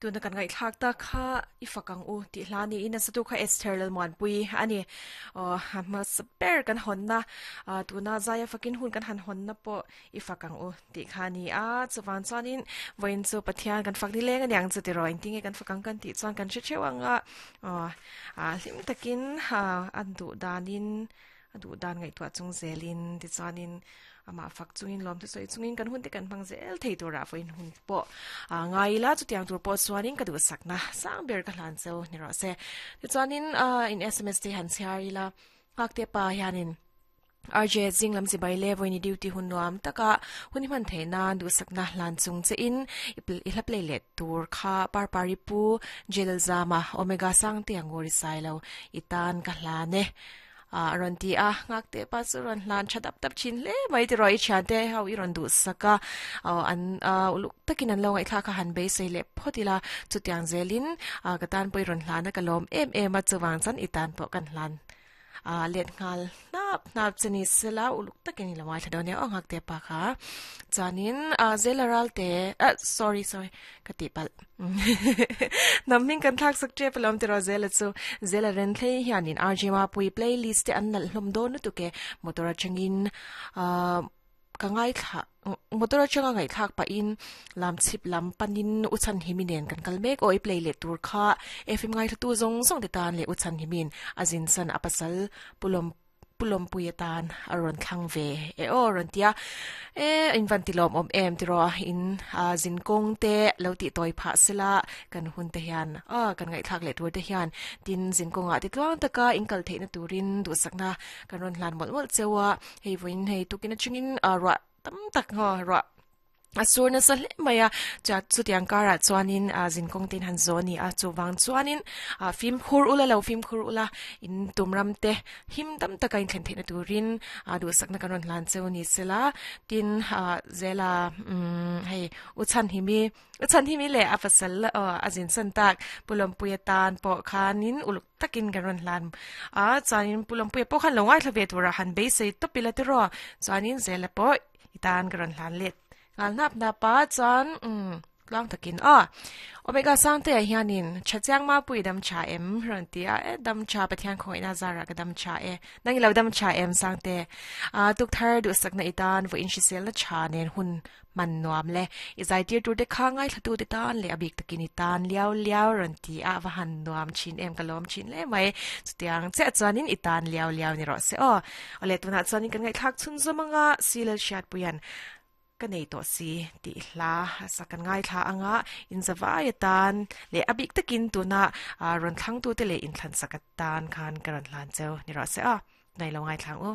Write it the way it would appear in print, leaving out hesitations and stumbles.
Tuna kan ngaihthlak tak kha i fak ang u tih hla niin a satu kha Esther Lalmuanpui a ni. Aw hmasa ber kan hawnna tuna zaia fakin hun kan han hawnna pawh i fak ang u tih kha a ni a. Chuvang chuanin vawiin chu Pathian kan fak nileng a niang chu tiraw engtin nge kan fak ang kan tih chuan kan hre theuh ang a. Aw hlim takin a duh danin A duh dan ngaihtuah chung zelin tichuanin amah fak chungin lawm thusawi chungin kan hun te kan hmang zel thei turah vawiin hun pawh a ngai ila chutiang tur pawh chuanin ka duhsakna sang ber ka hlan cheu ni rawh se. Tichuanin in sms te han chhiar ila Nghakte pa hianin RJ zing lam chibai le vawiin i duty hun nuam taka hun i hman theih nan duhsakna hlan chung che in i hla play leh tur kha Parpari pu Jalzama Omega Sangte a ngawr i sailo i tan ka hlan e. A rawn ti a, nghak teh pa chu rawn hlan tha dap dap thin hle mai tiraw i thiante ho i rawn duh sak a, aw an uluk takin an lo ngaihthlak a han beisei leh phawt ila chutiang zelin ka tan pawh i rawn hlan a ka lawm em em a chuvang chuan i tan pawh kan hlan a let nghal hnap hnap che ni sela uluk takin i lo ngaithla dawn nia aw nghak teh pa kha chuanin zela ralte sorry sorry ka tih palh. Hnam hming kan thlak sak tep alawm tiraw Zela chu. Zela ren thlei hianin RJ Mapui playlist te an nalh hlawm dawn lutuk e. Motor atangin ahh ka ngaithla motor atanga ngaihthlak pahin lam chhip lam panin U Chhanhimi nen kan kal mek aw i play leh tur kha FM ngaithlatu zawng zawng te tan leh U Chhanhimi'n a zin san a pasal Pu Lawm Pu Lawmpui atan a rawn thlang ve e aw a rawn ti a, e in van ti lawmawm em tiraw in zin kawng te lo tih tawi phah sela kan hun te hian a kan ngaihthlak leh tur te hian tin zin kawngah ti tluang taka in kal theihna turin duhsakna kan rawn hlan mawlh mawlh cheu a, hei vawiin hei tukin atangin ruah tam tak ruah. A sur nasa hle mai a, chuan chutiang karah chuanin ah zinkawng te in han zawh a ni a, chuvang chuanin ah fimkhur ula lo fimkhur ula in tum ram te him dam taka in thlen theihna turin ah duhsakna kan rawn hlan cheu ni sela tin ah zela umm hei u chhanhimi u chhanhimi leh a pasal aw a zin san tak Pu Lawmpuia tan pawh khanin uluk takin kan rawn hlan a chuanin Pu Lawmpuia pawh khan lo ngaithla ve turah han beisei tawp ila tiraw chuanin zela pawh I tan ka rawn hlan let nghal hnap hnap a chuan umm tluang takin aw Omega Sangte ah hianin tha chiang mapui dam tha em rawn ti a e dam tha Pathian khawngaihna zarah ka dam tha e nang i lo dam tha em Sangte a tukthar duhsakna i tan vawiin hriselna tha nen hun hman nuam le i zaitir tur te kha ngaithla tu te tan leh a bik takin i tan liau liau rawn ti a va han nuam thin em ka lawm thin hle mai chutiang chiah chuanin i tan liau liau ni rawh se aw. Awle tunah chuanin kan ngaihthlak chhun zawm anga Silal Hriatpuia'n ka nei tawh si tih hla a sak kan ngaithla anga inzavai atan leh a bik takin tuna rawn thlangtute leh inthlansak atan khan ka rawn hlan cheu ni rawh se aw, tunah i lo ngaithla ang u.